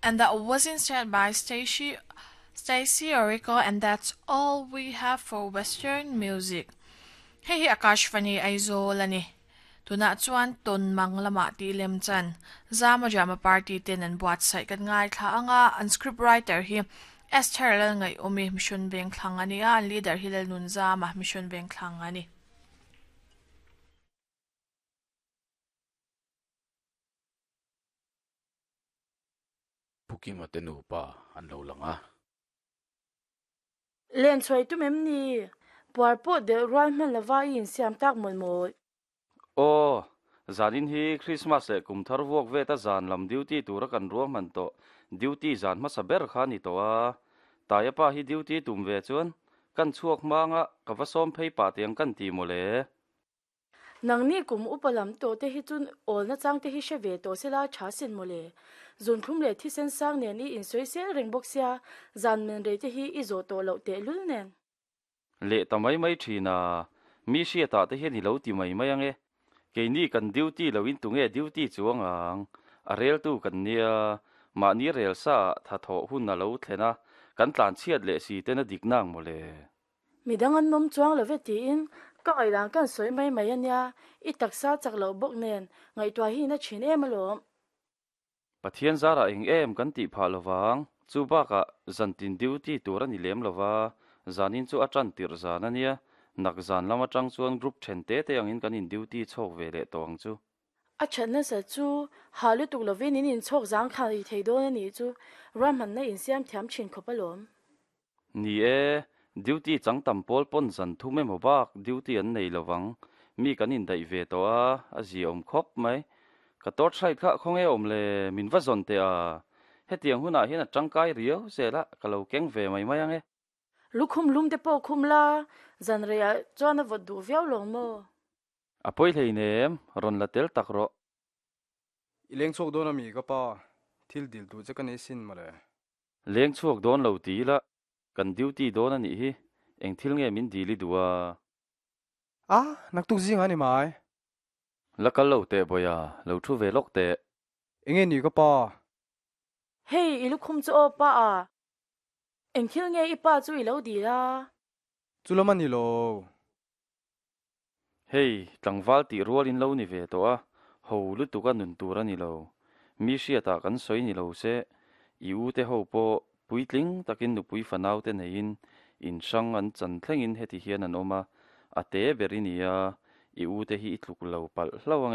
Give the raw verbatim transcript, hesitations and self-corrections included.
And that was instead by Stacy Stacy Oriko and that's all we have for Western music. Hei hi Akashvani Aizawl a ni. Tunah chuan tawn mang lamah tih lem chan Zama Drama Party ten an buatsaih kan ngaithla anga an script writer hi Esther Lalngaihawmi Mission Vengthlang a ni a, an leader hi Lalnunzama Mission Vengthlang a ni. Pu Kima te nupa an lo lang a. Len chhuai tum em ni? Puar pawh deuh rual hman lova i insiam tak mawlh mawlh. Aw, zanin hi Christmas leh kum thar vuak veta zan lam duty tura kan ruahman tawh duty zan hmasa ber kha a ni tawh a. Taia pa hi duty tum ve chuan kan chhuak hmanga ka va sawm phei pah tiang kan ti mawle. Nangni kum upa lam tawh te hi chu awl nachang te hi hre ve tawh sela tha sin mawle. Zunthlum leh thisen sang nen i insawi sel reng bawk sia, zan men rei te hi i zawh tawh loh tehlul nen. Leh ta mai mai thin a, mi hriatah te hian i lo ti mai mai ange. Keini kan duty lo in tunge duty chuang ang, a reltu kan nia, mahni rel sa ah tha thawh hun a lo thlen a, kan tlan chhiat leh si ten a dik nang mawle. Midang an awm chuang lo ve tiin ka ngaihdan kan sawi mai mai a nia, i taksa chak loh bawk nen ngaihtuah hi na thin em alawm. Pathian zarah eng em kan tih phah lovang, chu bakah zantin duty tur a ni lem lova, zanin chu a tan tirh zan a nia, nak zan lam atang chuan group then te te angin kan in duty chhawk ve leh tawh ang chu. A that nasa chu ha lutuk lovin in inchhawk zang kha i thei dawn a nih chu, ruahmanna insiam thiam thin khawp alawm. Ni e, duty chang tam pawl pawn zan thum emaw bak duty an nei lovang, mi kan indaih ve tawh a, a ziaawm khawp mai. Ka torchlight kha khawnge awm le, min va zawn teh a, hetiang hunah hian a tangkai riau zel a, ka lo keng ve mai mai ange. Lukhum lum te pawh khum la, zan reiah chuan a vawt duh viau lawng maw? A pawi hleinem, rawn la tel tak rawh. I leng chhuak dawn ami ka pa, thil dil duh che ka nei sin mawle. Leng chhuak dawn lo ti ila, kan duty dawn a nih hi, eng thil nge min dil i duh a? A, naktuk zing a ni mai. La kal lo teh Bawia, lo thu ve lawk teh. Enge ni ka pa? Hei, i lukhum chu aw pa a. Eng thil nge i pa chu i lo dil a? Chu lam a ni lo. Hei, tlangval tih rual in lo ni ve tawh a, ho lutuk a nun tur a ni lo. Mi hriatah kan sawi ni lo se, i u te ho pawh puitling takin nupui fanau te neiin in hrang an chan thlengin heti hian an awm a, a te ber i ni a, i u te hi i tluk lo palh hlauh ange.